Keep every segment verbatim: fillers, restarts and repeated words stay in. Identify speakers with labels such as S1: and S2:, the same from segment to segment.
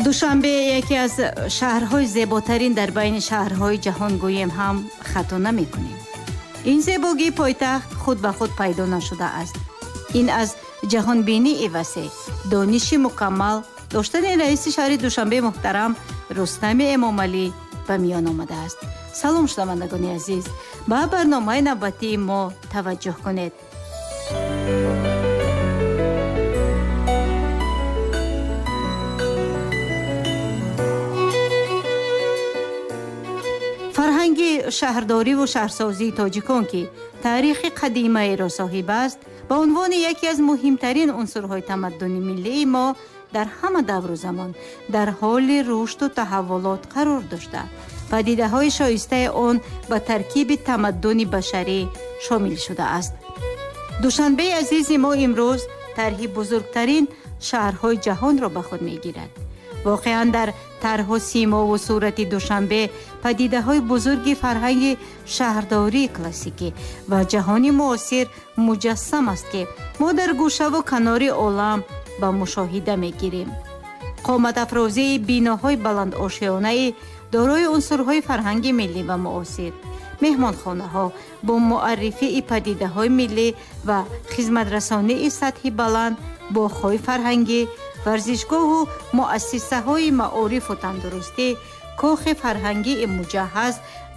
S1: Душанбе яке аз шаҳрҳои зеботарин дар байни шаҳрҳои ҷаҳон гӯем ҳам хато намекунем. Ин зебогии пойтахт худ ба худ пайдо нашудааст. Ин аз ҷаҳонбинии васеъ, дониши мукаммал доштани раиси шаҳри Душанбе муҳтарам Рустами Эмомалӣ ба миён омадааст. Салом, шунавандагони азиз, ба барномаи навбатии мо таваҷҷӯҳ кунед. Фарҳанги шаҳрдориву шаҳрсозии тоҷикон, ки таърихи қадимаеро соҳиб аст, ба унвони яке аз муҳимтарин унсурҳои тамаддуни миллии мо дар ҳама давру замон дар ҳоли рушду таҳаввулот қарор дошта, падидаҳои шоистаи он ба таркиби тамаддуни башарӣ шомил шудааст. Душанбеи азизи мо имрӯз тарҳи бузургтарин шаҳрҳои ҷаҳонро ба худ мегирад. Воқеан дар тарҳу симову сурати Душанбе падидаҳои бузурги фарҳанги шаҳрдории классикӣ ва ҷаҳони муосир муҷассам аст, ки мо дар гӯшаву канори олам ба мушоҳида мегирем. Қоматафрозии биноҳои баландошёнаи дорои унсурҳои фарҳанги миллӣ ва муосир, меҳмонхонаҳо бо муаррифии падидаҳои миллӣ ва хизматрасонии сатҳи баланд, боғҳои фарҳангӣ, варзишгоҳу муассисаҳои маорифу тандурустӣ, кохи фарҳангии муҷаҳҳаз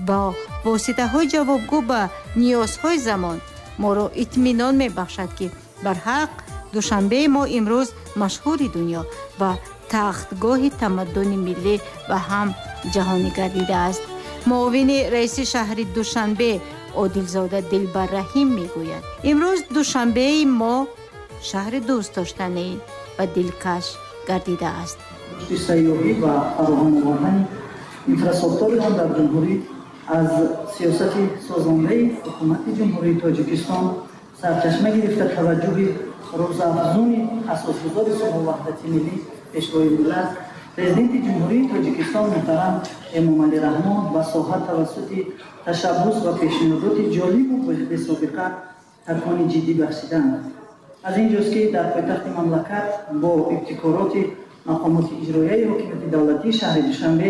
S1: бо воситаҳои ҷавобгӯ ба ниёзҳои замон моро итминон мебахшад, ки барҳақ Душанбеи мо имрӯз машҳури дунё ва тахтгоҳи тамаддуни миллӣ ва ҳам ҷаҳонӣ гардидааст. Муовини раиси шаҳри Душанбе Одилзода Дилбарраҳим мегӯяд: имрӯз Душанбеи мо шаҳри дӯстдоштанӣ ва дилкаш гардидааст.
S2: Рушди сайёҳӣ ва фароҳам овардани инфрасохтори он дар ҷумҳурӣ аз сиёсати созандаи ҳукумати Ҷумҳурии Тоҷикистон сарчашма гирифта, таваҷҷӯҳи рӯзафзуни асосгузори сулҳу ваҳдати миллӣ, Пешвои миллат, Президенти Ҷумҳурии Тоҷикистон муҳтарам Эмомалӣ Раҳмон ба соҳа тавассути ташаббус ва пешниҳодоти ҷолибу бесобиқа такони ҷиддӣ бахшиданд. Аз ин ҷост, ки дар пойтахти мамлакат бо ибтикороти мақомоти иҷроияи ҳокимияти давлатии шаҳри Душанбе,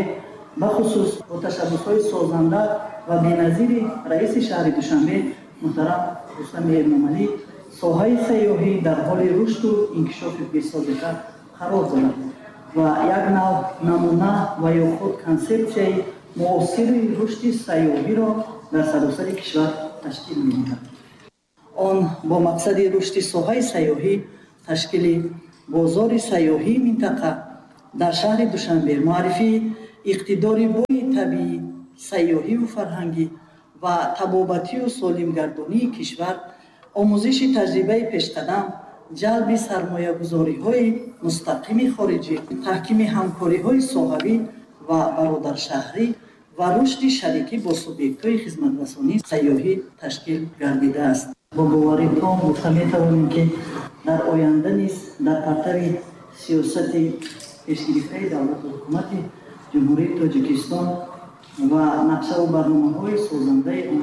S2: бахусус бо ташаббусҳои созанда ва беназири раиси шаҳри Душанбе муҳтарам Рустами Эмомалӣ, соҳаи сайёҳӣ дар ҳоли рушду инкишофи бесобиқа қарор дорад ва як нав намуна ва ё худ консепсияи муосири рушди сайёҳиро дар саросари кишвар ташкил медиҳад. Он бо мақсади рушди соҳаи сайёҳӣ, ташкили бозори сайёҳии минтақа дар шаҳри Душанбе, муаррифии иқтидори бои табиӣ, сайёҳиву фарҳангӣ ва табобатию солимгардонии кишвар, омӯзиши таҷрибаи пешқадам, ҷалби сармоягузориҳои мустақими хориҷӣ, таҳкими ҳамкориҳои соҳавӣ ва бародаршаҳрӣ ва рушди шарикӣ бо субъектҳои хизматрасонии сайёҳӣ ташкил гардидааст. Бо боварӣ том гуфта метавонем, ки дар оянда низ дар партави сиёсати пешгирифтаи давлату ҳукумати Ҷумҳурии Тоҷикистон ва нақшаву барномаҳои созандаи он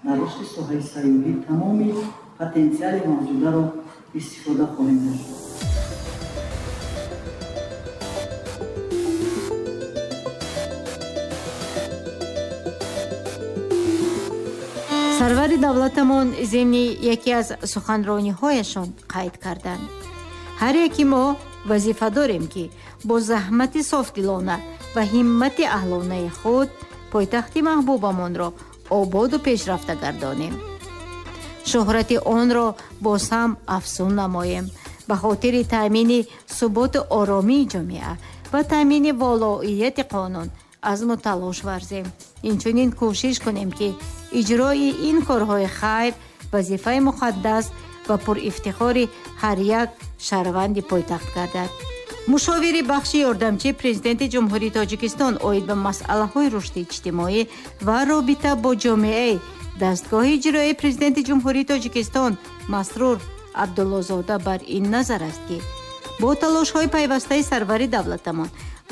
S2: дар рушди соҳаи сайёҳӣ тамоми потенсиали мавҷударо истифода хоҳем бурд.
S1: Сарвари давлатамон зимни яке аз суханрониҳояшон қайд карданд: ҳар яки мо вазифа дорем, ки бо заҳмати софдилона ва ҳиммати аҳлонаи худ пойтахти маҳбубамонро ободу пешрафта гардонем, шӯҳрати онро боз ҳам афзун намоем, ба хотири таъмини суботу оромии ҷомеа ва таъмини волоияти қонун азму талош варзем. Инчунин кӯшиш кунем, ки иҷрои ин корҳои хайр вазифаи муқаддас ва пурифтихори ҳар як шаҳрванди пойтахт гардад. Мушовири бахши ёрдамчии Президенти Ҷумҳурии Тоҷикистон оид ба масъалаҳои рушди иҷтимоӣ ва робита бо ҷомеаи дастгоҳи иҷроияи Президенти Ҷумҳурии Тоҷикистон Масрур Абдуллозода бар ин назар аст, ки бо талошҳои пайвастаи сарвари давлатамон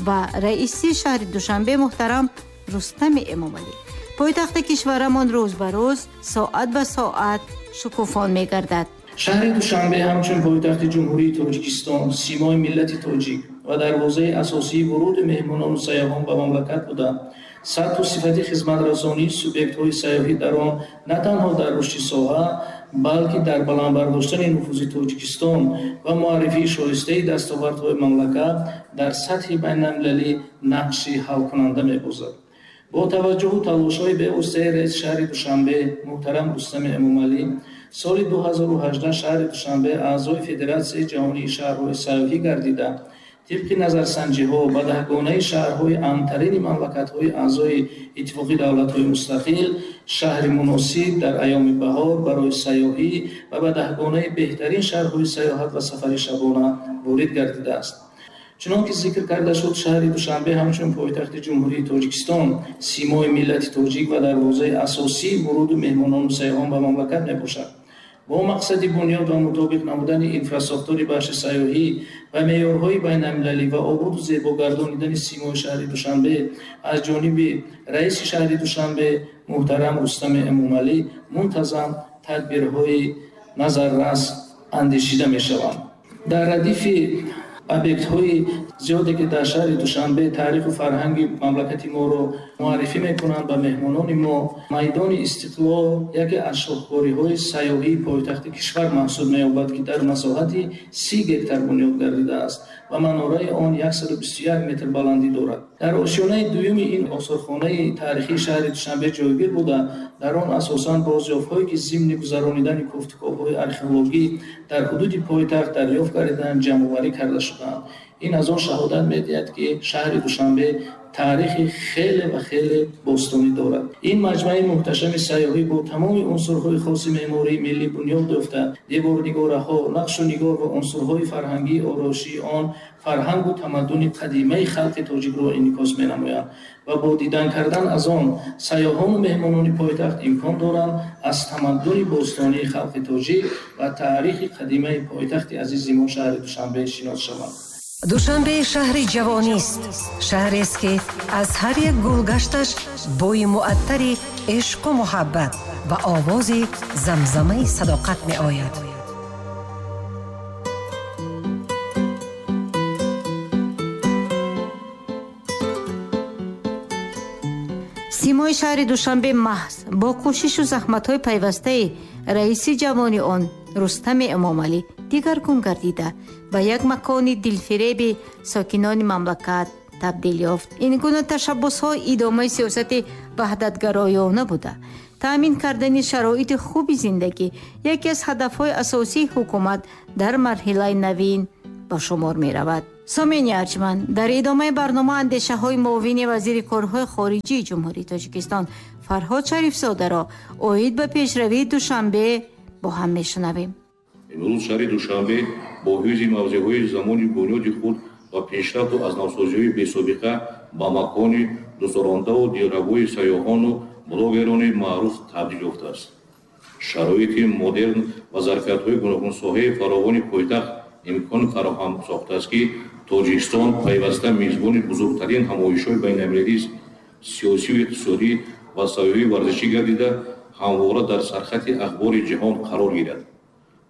S1: ва раиси шаҳри Душанбе муҳтарам Рустами Эмомалӣ пойтахти кишварамон рӯз ба рӯз, соат ба соат шукуфон мегардад.
S3: Шаҳри Душанбе ҳамчун пойтахти Ҷумҳурии Тоҷикистон, симои миллати тоҷик ва дарвозаи асосии вуруди меҳмонону сайёҳон ба мамлакат буда, сатҳу сифати хизматрасонии субъектҳои сайёҳӣ дар он на танҳо дар рушди соҳа, балки дар баланд бардоштани нуфузи Тоҷикистон ва муаррифии шоистаи дастовардҳои мамлакат дар сатҳи байналмилалӣ нақши ҳалкунанда мебозад. Бо таваҷҷӯҳу талошҳои бевоситаи раиси шаҳри Душанбе муҳтарам Рустами Эмомалӣ, соли ду ҳазору ҳаждаҳ шаҳри Душанбе аъзои Федератсияи ҷаҳонии шаҳрҳои сайёҳӣ гардида, тибқи назарсанҷиҳо ба даҳгонаи шаҳрҳои амнтарини мамлакатҳои аъзои Иттифоқи давлатҳои мустақил, шаҳри муносиб дар айёми баҳор барои сайёҳӣ ва ба даҳгонаи беҳтарин шаҳрҳои сайёҳат ва сафари шабона ворид гардидааст. Чунон ки зикр карда шуд, шаҳри Душанбе ҳамчун пойтахти Ҷумҳурии Тоҷикистон симои миллати тоҷик ва дарвозаи асосии вуруду меҳмонону сайёҳон ба мамлакат мебошад. Бо мақсади бунёд ва мутобиқ намудани инфрасохтори бахши сайёҳӣ ва меъёрҳои байналмилалӣ ва ободу зебо гардонидани симои шаҳри Душанбе аз ҷониби раиси шаҳри Душанбе муҳтарам Рустами Эмомалӣ мунтазам тадбирҳои назаррас андешида мешаванд. Дар радифи объектҳои зиёде ки дар шаҳри Душанбе таъриху фарҳанги мамлакати моро муаррифӣ мекунанд ба меҳмонони мо, майдони Истиқлол яке аз шоҳкориҳои сайёҳии пойтахти кишвар маҳсуб меёбад, ки дар масоҳати си гектар бунёд гардидааст ва манораи он яксаду бисту як метр баландӣ дорад. Дар ошёнаи дуюми ин осорхонаи таърихии шаҳри Душанбе ҷойгир буда, дар он асосан бозёфтҳое ки зимни гузаронидани кофтуковҳои археологӣ дар ҳудуди пойтахт дарёфт гардиданд, ҷамъоварӣ карда шудаанд. Ин аз он шаҳодат медиҳад, ки шаҳри Душанбе таърихи хеле ва хеле бостонӣ дорад. Ин маҷмӯаи муҳташами сайёҳӣ бо тамоми унсурҳои хоси меъмории миллӣ бунёд ёфта, деворнигораҳо, нақшу нигор ва унсурҳои фарҳангии ороишии он фарҳангу тамаддуни қадимаи халқи тоҷикро инъикос менамоянд ва бо дидан кардан аз он сайёҳону меҳмонони пойтахт имкон доранд аз тамаддуни бостонии халқи тоҷик ва таърихи қадимаи пойтахти азизи мо шаҳри Душанбе шинос шаванд.
S4: Душанбе шаҳри ҷавонист, шаҳрест ки аз ҳар як гулгашташ бӯи муаттари ишқу муҳаббат ва овози замзамаи садоқат меояд.
S1: Симои шаҳри Душанбе маҳз бо кӯшишу заҳматҳои пайвастаи раиси ҷавони он Рустами Эмомалӣ дигаргун гардида, ба як макони дилфиреби сокинони мамлакат табдил ёфт. Ин гуна ташаббусҳо идомаи сиёсати ваҳдатгароёна буда, таъмин кардани шароити хуби зиндагӣ яке аз ҳадафҳои асосии ҳукумат дар марҳилаи навин ба шумор меравад. Сомени арҷманд, дар идомаи барнома андешаҳои муовини вазири корҳои хориҷии Ҷумҳурии Тоҷикистон Фарҳод Шарифзодаро оид ба пешравии Душанбе бо ҳам мешунавем.
S5: Имрӯз шаҳри Душанбе бо ҳифзи мавзеъҳои замони бунёди худ ва пешрафту аз навсозиҳои бесобиқа ба макони дӯстдорандаву дилрабои сайёҳону блогерони маъруф табдил ёфтааст. Шароити модерн ва зарфиятҳои гуногунсоҳаи фаровони пойтахт имкон фароҳам сохтааст, ки Тоҷикистон пайваста мизбони бузургтарин ҳамоишҳои байналмилалии сиёсию иқтисодӣ ва сайёҳию варзишӣ гардида, ҳамвора дар сархати ахбори ҷаҳон қарор гирад.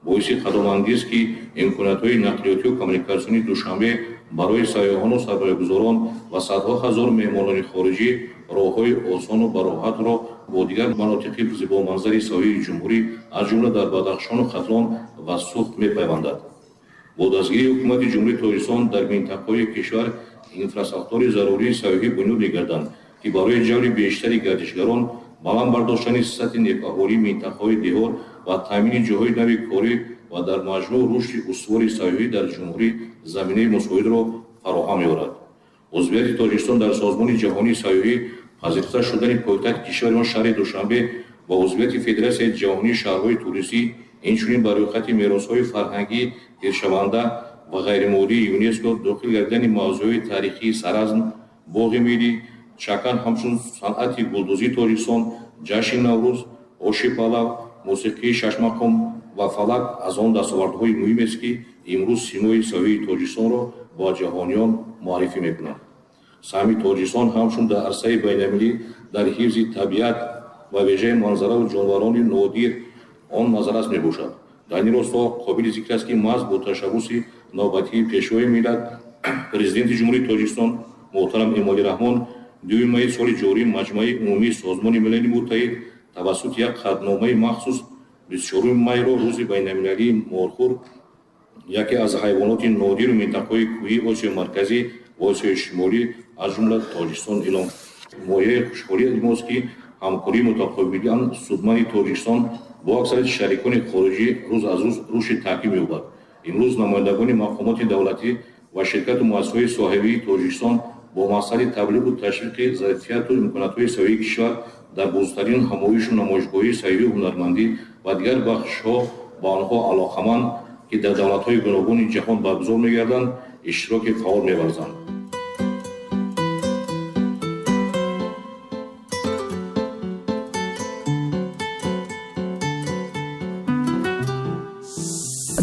S5: Боиси қадомангез, ки имкониятҳои нақлиётию коммуникатсионии Душанбе барои сайёҳону сармоягузорон ва садҳо ҳазор меҳмонони хориҷӣ роҳҳои осону бароҳатро бо дигар манотиқи зебоманзари сайёҳии ҷумҳурӣ, аз ҷумла дар Бадахшону Хатлон ва Суғд мепайвандад. Бо дастгирии ҳукумати Ҷумҳурии Тоҷикистон дар минтақаҳои кишвар инфрасохтори зарурии сайёҳӣ бунёд мегарданд, ки барои ҷалби бештари гардишгарон, баланд бардоштани сатҳи некаҳолии минтақаҳои деҳот ва таъмини ҷойҳои нави корӣ ва дар маҷмӯъ рушди устувори сайёҳӣ дар ҷумҳурӣ заминаи мусоидро фароҳам меорад. Узвияти Тоҷикистон дар Созмони ҷаҳонии сайёҳӣ, пазируфта шудани пойтахти кишвари мо шаҳри Душанбе ва узвияти Федератсияи ҷаҳонии шаҳрҳои туристӣ, инчунин ба рӯйхати меросҳои фарҳангӣ ҳифзшаванда ва ғайримоддии ЮНЕСКО дохил гардидани мавзӯъҳои таърихии Саразм, боғи миллӣ, чакан ҳамчун санъати гулдӯзии Тоҷикистон, ҷашни Наврӯз, оши палав, мусиқии шашмақом ва фалак аз он дастовардҳои муҳимест, ки имрӯз симои сайёҳии Тоҷикистонро ба ҷаҳониён муаррифӣ мекунанд. Саҳми Тоҷикистон ҳамчун дар арсаи байналмилалӣ дар ҳифзи табиат ва вежаи манзараву ҷонварони нодир он назаррас мебошад. Дар ин росто қобили зикр аст, ки маҳз бо ташаббуси навбатии Пешвои миллат Президенти Ҷумҳурии Тоҷикистон муҳтарам Эмомалӣ Раҳмон дуюми майи соли ҷорӣ Маҷмааи Умумии Созмони Милали Муттаҳид тавассути як қатъномаи махсус бисту чоруми майро Рӯзи байналмилалии морхӯр, яке аз ҳайвоноти нодиру минтақаҳои кӯҳии Осиёи Марказӣ ва Осиёи Шимолӣ, аз ҷумла Тоҷикистон эълон. Мояи хушҳолии мост, ки ҳамкории мутақобилан судманди Тоҷикистон бо аксарияти шарикони хориҷӣ рӯз аз рӯз рушди таҳким меёбад. Имрӯз намояндагони мақомоти давлатӣ ва ширкату муассисаҳои соҳавии Тоҷикистон бо мақсади таблиғу ташвиқи зарфияту имкониятҳои сайёҳии кишвар дар бузургтарин ҳамоишу намоишгоҳии сайёҳию ҳунармандӣ ва дигар бахшҳо ба онҳо алоқаманд, ки дар давлатҳои гуногуни ҷаҳон баргузор мегарданд, иштироки фаъол меварзанд.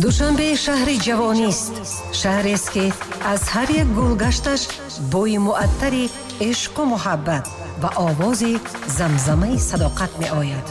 S4: Душанбе шаҳри ҷавонист, шаҳрест, ки аз ҳар як гулгашташ бӯи муаттари ишқу муҳаббат ва овози замзамаи садоқат меояд.